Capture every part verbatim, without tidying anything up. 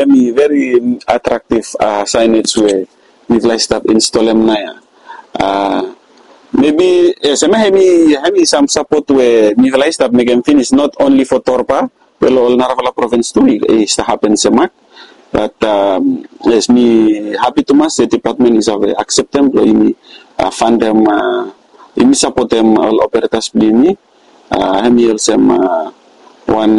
hemi very attractive signage we mifala i stap install hem naoia. Maybe yes, hemi hemi sam support we mifala i stap mekem finis, not only for Torba, we lo ol narafala provins tu i stap hapen semak. But yes, mi hapi tumas se department i save accept hem blo yumi fundem, yumi supportem ol operators blo yumi. Hemi olsem wan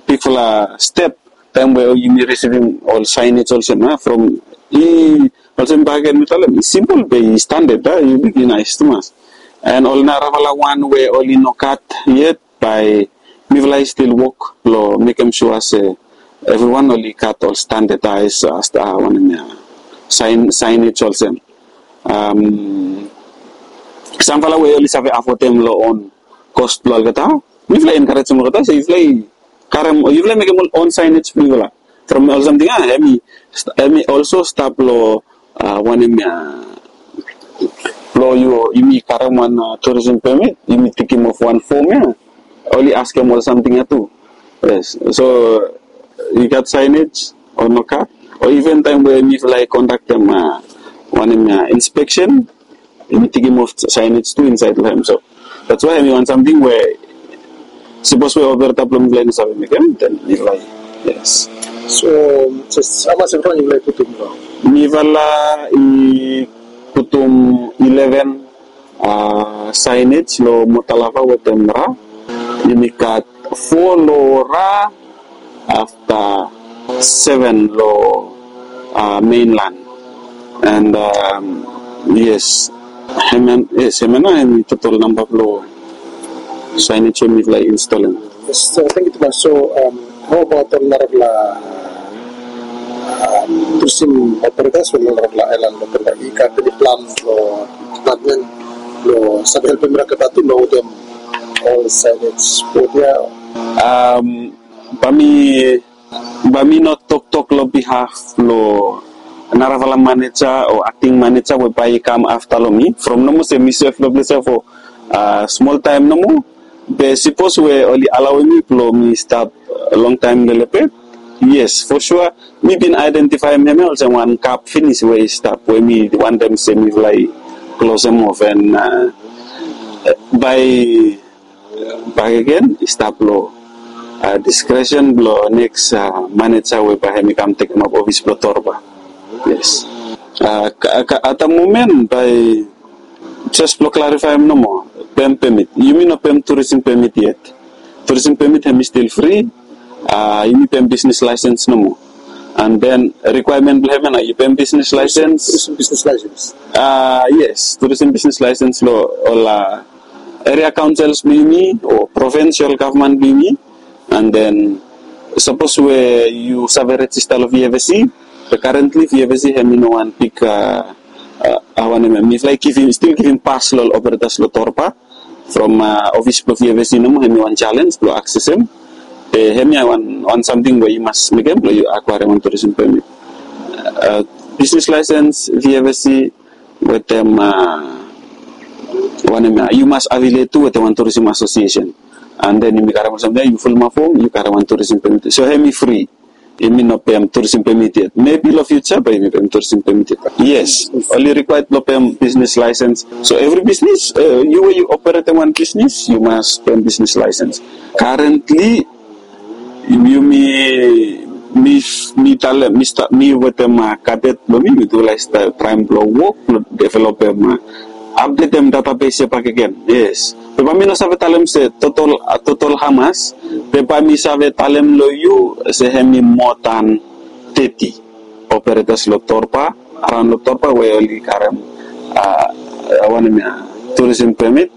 bigfala step taem we yumi risivim ol signage olsem from i olsem bakegen mi talem i simpol be i standard, a i luk i naes tumas. And ol narafala wan we oli no gat yet, bae mifala i stil wok blo mekem sua se evriwan oli gat ol standardized wanem ya, signage olsem. Samfala we oli save afodem lo on cost blo olgeta, mifala i encouragem olgeta se yufala i karem o yufala i mekem ol on signage blo yufala. From ol samting ya hemi also stap lo wanem ya, lo yumi karem wan tourism permit, yumi tikim of wan fom ya, oli askem ol samting ya tu. Yes, so i gat signage o no gat, o even taem we mifala i kondaktem wanem ya, inspection, yumi tikim of signage tu insaed lo hem. So that's why hemi wan samting we sipos we operator blo mifala i no save mekem, then mifala i, yes. So jes hamas evriwan yufala i putum lo? Mifala i putum eleven signage lo Motalava wetem Ra. Yumi gat fo lo Ra, afta seven lo mainland. And yes, hemia nao hemi total namba blo signage we mifala i install hem. Yes, so tangkiu tumas. So, hao abaot ol narafala tourism operators o ol narafala aelan lo Torba, i gat eni plan lo department blo save helpem mifala tu lo wetem ol signage board ya? Bae mi, bae mi no toktok lo behalf blo narafala maneja o acting maneja we bae i kam afta lo mi. From nomo se mi sef lo ples ya fo smol taem nomo. Be sipos we oli alaoem mi blo mi stap longtaem lelebet, yes, fo sua mi bin aedentifaem hemia olsem wan gap finis we i stap we mi wantem se mifala i klosem of, and bae bakegen i stap lo diskresen blo neks maneja we bae hemi kam tekemap ofis blo Torba. Yes. At the moment bae jes blo klarifaem nomo, pem pemit, yumi no pem tourism pemit yet. Tourism pemit hemi stil fri. Yumi pem bisnis laesens nomo. And then rikwaemen blo hemia nao yu pem bisnis laesens. Tourism business license. Yes, tourism bisnis laesens lo ol eria kaonsels blo yumi o provinsel gavman blo yumi. And then sapos we yu save rejista lo VFSC, be currently VFSC hemi no wan big, hao wanem ya, mifala i stil givim pas lo ol operators lo Torba from ofis blo VFSC nomo. Hemi wan jalenj blo aksesem. Be hemia wan samting we yu mas mekem blo yu akwaerem wan tourism pemit. Bisnis laesens, VFSC, wetem wanem ya, yu mas afiliet tu wetem wan tourism asosiesen. And then yumi karem ol samting ya, yu fulumap fom, yu karem wan tourism pemit. So hemi fri. Yumi no pem tourism pemit yet. Maybe lo future bae yumi pem tourism pemit yet. Yes, oli rikwaed blo pem bisnis laesens. So evri bisnis, yu we yu operatem wan bisnis, yu mas pem bisnis laesens. Currently yumi, mi, mi talem, mi wetem kadet blo mi, mi tu lae traem blo wok blo developem, apdetem databes ya bakegen. Yes. Be bae mi no save talem se total, total hamas. Be bae mi save talem lo yu se hemi moa dan teti operators lo Torba, araon lo Torba we oli karem wanem ya, tourism permit.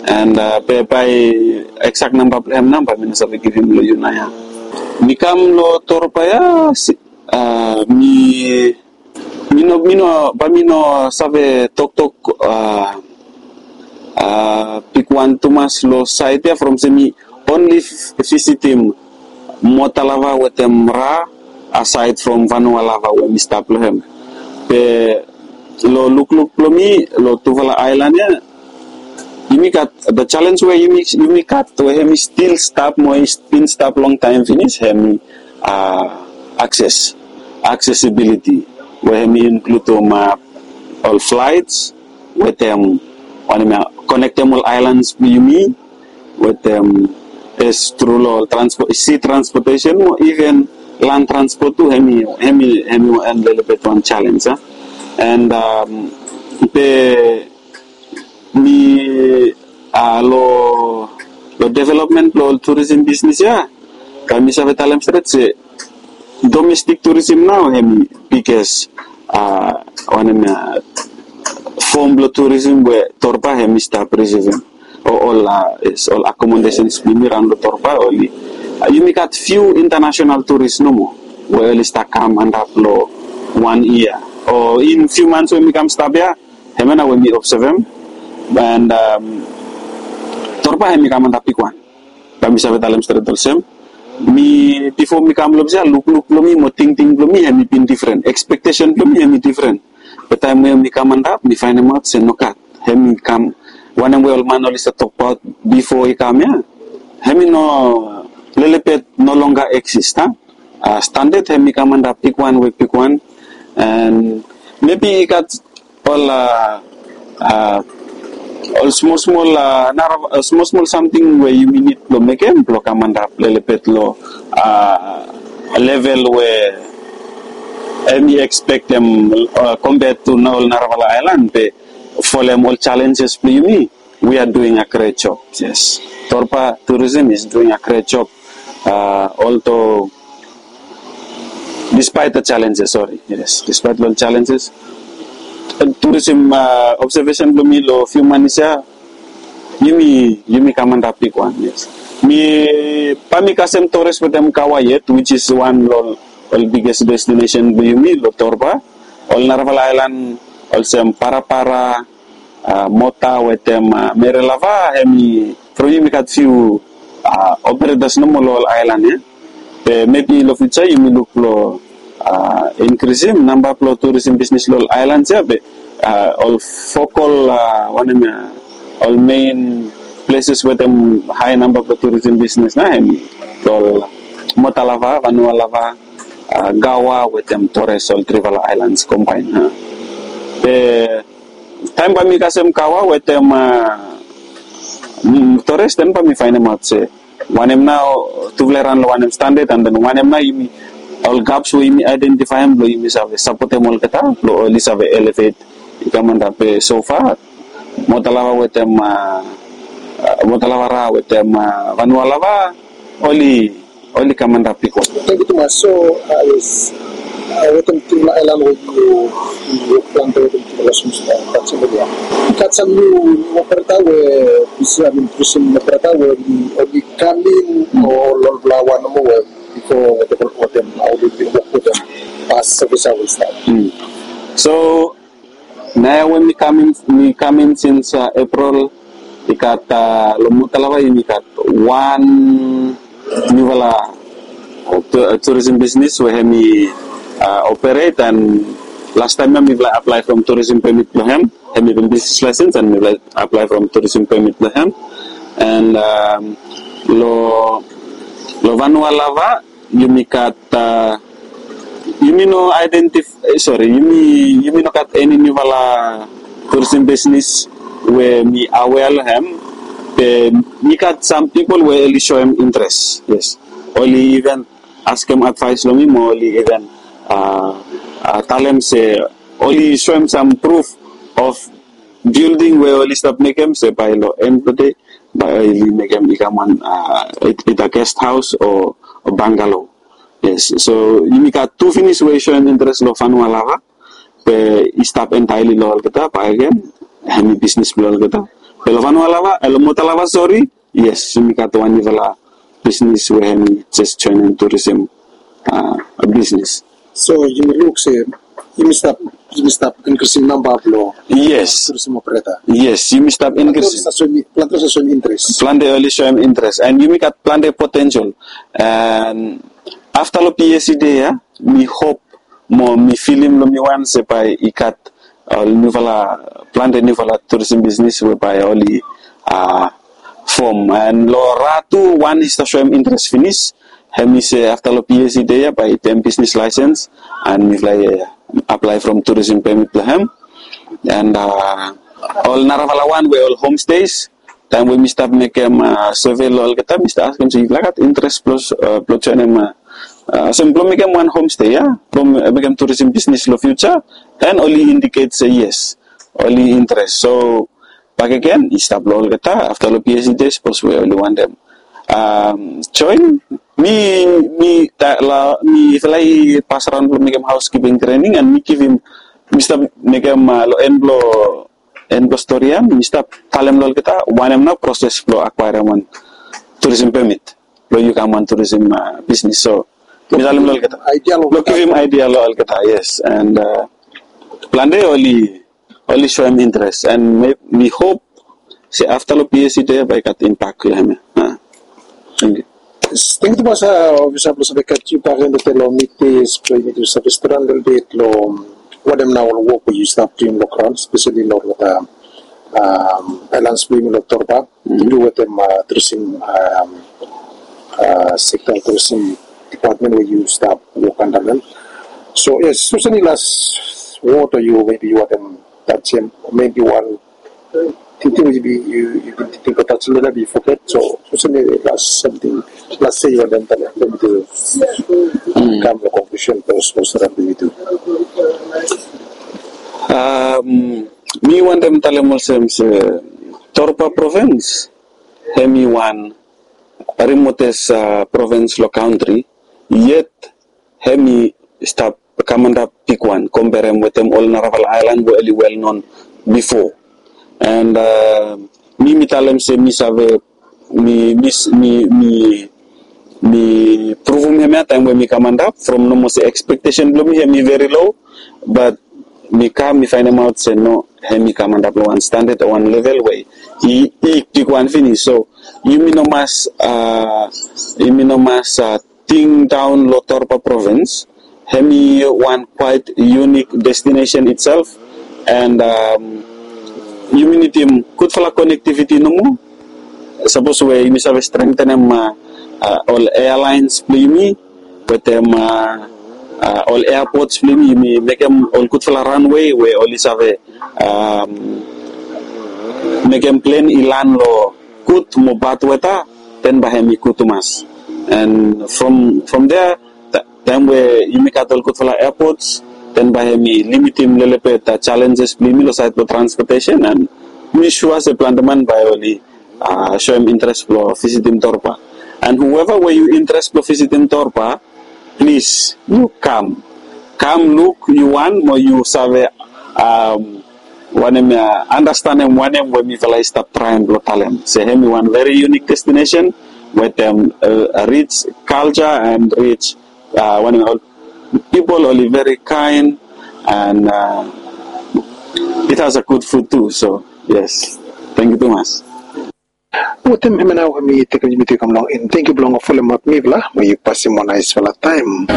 And be bae eksak namba blo hem nao bae mi no save givim lo yu naoia. Mi kam lo Torba ya, mi, mi no, mi no, bae mi no save toktok bigwan tumas lo saed ya from se mi only visitim Motalava wetem Ra, aside from Vanualava we mi stap lo hem. Be lo lukluk blo mi lo tufala aelan ya, yumi gat, the challenge we yumi, yumi gat we hemi stil stap mo i bin stap longtaem finis, hemi, access, accessibility, we hemi include ol flights wetem wanem ya, connectem ol islands blong yumi wetem, is through lo transport, sea transportation mo even land transport tu, hemi hemi hemi wan lelebet wan challenge, and be mi lo lo development blong ol tourism business ya, bae mi save talem stret se domestic tourism nao hemi biggest wanem ya, form blong tourism we Torba hemi stap receiving ol ol accommodations blong yumi raon long Torba. Oli yumi gat few international tourist nomo we oli stap kam antap long wan yia o in few months we mi kam stap ya, hemia nao we mi observem, and Torba hemi kam antap bigwan. Bae mi save talem stret olsem, mi bifo mi kam long ples ya, lukluk blong mi mo tingting blong mi hemi bin difren, expectation blong mi hemi difren. Be taem we mi kam antap mi faenemaot se nogat, hemi kam wanem we ol man oli stap tokbaot bifo i kam ya, hemi no, lelebet no longer exist, a standard hemi kam antap bigwan we bigwan, and maybe i gat ol ol smol smol nara smol smol samting we yumi nid blong mekem blong kam antap lelebet long level we hemi expectem compared to ol narafala aelan, be folem ol challenges blong yumi, we are doing a great job. Yes, Torba tourism is doing a great job, although despite the challenges, sorry, yes, despite long challenges, tourism observation blong mi long few months ya, yumi yumi kam antap bigwan. Yes, mi bae mi kasem Torres wetem Gaua yet, which is wan long ol biggest destination blong yumi long Torba. Ol narafala aelan olsem Parapara, Mota wetem Merelava, hemi from yumi gat few operators nomo long ol aelan ya. Be maybe long future yumi luk blong inkrisim namba blong tourism bisnis long ol aelan ya, be ol focal wanem ya, ol main places wetem hae namba blong tourism bisnis nao hemi ol Motalava, Vanualava, Gaua wetem Torres, ol trifala aelan kombaen. Be taem bae mi kasem Gaua wetem Torres, den bae mi faenemaot se wanem nao tufala i ran long wanem standard, and then wanem nao yumi, ol gaps we yumi aedentifaem blong yumi save sapotem olgeta blong oli save elevate i kam antap. Be so far Motalava wetem Motalavara wetem Vanualava, oli oli kam antap bigwan. Tangkiu tumas. So yes, wetem tufala aelan we yu wok plante wetem tufala sumsum taksem ya, i gat sam niu niu opereta we, I mean tourism opereta we oli kam in o ol olfala wan nomo we bifo wetem wetem oli bin wok wetem pas sevis aoa i stap? So naoia we mi kam in, mi kam in sins April, i gat long Motalava yumi gat wan niufala tourism bisnis we hemi operate, and lastaem ya mifala aplae from tourism permit blong hem, hemi bin bisnis laesens, and mifala aplae from tourism permit blong hem. And long long Vanualava yumi gat, yumi no identif- sorry, yumi yumi no gat eni niufala tourism bisnis we mi aware long hem. Be mi gat sam pipol we oli soem interes. Yes, oli even askem advaes long mi mo oli even talem se oli soem sam proof of building we oli stap mekem se bae long en blong dei bae oli mekem i kam wan, either guest house o bungalow. Yes, so yumi gat tu finis we i soem interes long Vanualava, be i stap entirely long olgeta bakegen, hemi bisnis blong olgeta. Be long Vanualava, long Motalava, sorry, yes, yumi gat wan niufala bisnis we hemi jes joenem tourism bisnis. So yumi luk se yumi stap, yumi stap inkrisim namba blong, yes, tourism operator. Yes, yumi stap inkrisim. Plante oli soem interes, and yumi gat plante potential. And afta long PAC dei ya, mi hop mo mi filim long mi wan se bae i gat ol niufala, plante niufala tourism bisnis we bae oli fom. And long Ra tu wan i stap soem interes finis, Hemi se afta long P S E de ya bae i pem bisnis laesens, and mifala i aplae from tourism permit blong hem. And ol narafala wan we ol homestays, taem we mi stap mekem survey long olgeta, mi stap askem se yufala gat interes blong joenem, olsem blong mekem wan homestay ya, blong mekem tourism bisnis long future. And oli indicate se yes, oli interes. So bakegen i stap long olgeta afta long P S E de, sapos we oli wantem join. Mi, mi, mifala i pasaraon blong mekem housekeeping training, and mi givim, mi stap mekem long en blong en blong stori ya mi stap talem long olgeta wanem nao proses blong acquirem wan tourism permit blong yu kam wan tourism bisnis. So mi talem long olgeta, blong givim idea long olgeta, yes. And plante oli, oli soem interes, and mi hop se afta long P S E de bae i gat impact long hem ya. Thank you. Thank you tumas, ofisa blong save gat yu bakegen long Mitis blong yumi tu save stap lelebet long wanem nao ol wok we yu stap duim long graon, especially long olgeta aelan blong yumi long Torba, tu wetem tourism sekta, tourism department we yu stap wok anda long hem. So yes, olsem i las wod o yu, maybe yu wantem tajem, maybe wan tingting we yu bin tingting blong tajem, maybe yu foget. So olsem i las samting, las se yu wantem talem blong yumi tu kam long konklusen blong stap blong yumi tu. Mi wantem talem olsem se Torba provins hemi wan remotest provins long kantri, yet hemi stap kamantap bigwan komberem wetem ol narafala aelan we oli well known bifo. And mi, mi talem se mi save, mi, mi, mi, mi, mi pruvum hemia taem we mi kamantap from nomo se expectation blong mi hemi very low, but mi kam mi faenemaot se no, hemi kamantap long wan standard o wan level we i, i bigwan finis. So yumi no mas, yumi no mas ting daon long Torba provins. Hemi wan quite unique destination itself, and yumi nidim gudfala connectivity nomo. Sapos we yumi save strengthenem ol airlines blong yumi wetem ol airports blong yumi, yumi mekem ol gudfala runway we oli save mekem plen i lan long gud mo bad weta, then bae hemi gud tumas. And from, from there, taem we yumi gat ol gudfala airports, then bae hemi limitim lelebet challenges blong yumi long saed blong transportation, and mi sua se plante man bae oli soem interes blong visitim Torba. And whoever we yu interes blong visitim Torba, plis yu kam. Kam luk yu wan mo yu save wanem ya, andastanem wanem we mifala i stap traem blong talem se hemi wan very unique destination wetem rich culture and rich, wanem, ol pipol oli very kind, and it has a good food too. So yes, thank you tumas. Wetem hemia nao mi tekem yumi tu i kam long en. Tangkiu blong folem ap mifala mo yu pasim wan naesfala taem.